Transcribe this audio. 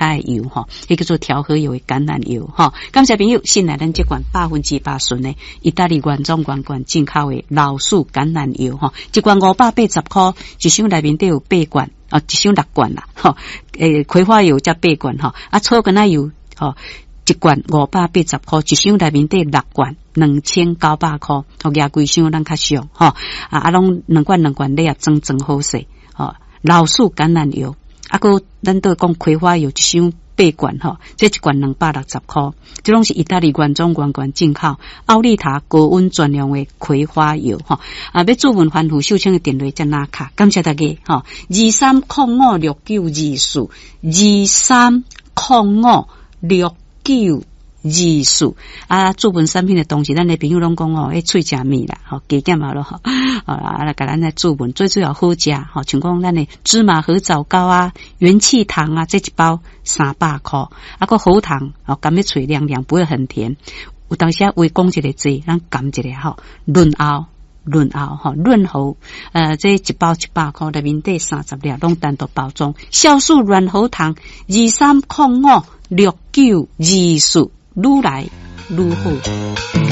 跤的油吼，彼叫做調和油的橄欖油吼。感謝朋友信賴咱這罐100%純的意大利原裝原罐進口的老樹橄欖油吼，一罐580箍，一箱內面底有八罐，哦，一箱六罐啦，吼，葵花油才八罐吼，啊，草根仔油吼，一罐580箍，一箱內面底六罐，2900箍，吼，舉規箱咱較俗吼，啊啊，攏兩罐兩罐禮盒裝裝好勢，吼，老樹橄欖油，啊，閣咱都講葵花油一箱八罐吼，這一罐260箍，這攏是意大利原裝原罐進口奧利塔高溫專用的葵花油吼，啊，欲諮問番富秀清的電話才拿卡，感謝大家吼，23056924，23056924啊，諮問產品的同時，咱的朋友攏講哦，彼喙誠蜜啦，吼，加減嘛咯，吼，啊，來共咱來諮問，最主要好食，吼，像講咱的芝麻褐棗糕啊、元氣糖啊，這一包300箍，啊，閣喉糖，哦，含咧喙涼涼，不會很甜。有當時啊，話講一个濟，咱含一个吼，潤喉。潤喉吼，潤喉，這一包100箍，內面底30粒，攏單獨包裝。酵素軟喉糖，23056924，愈來愈好。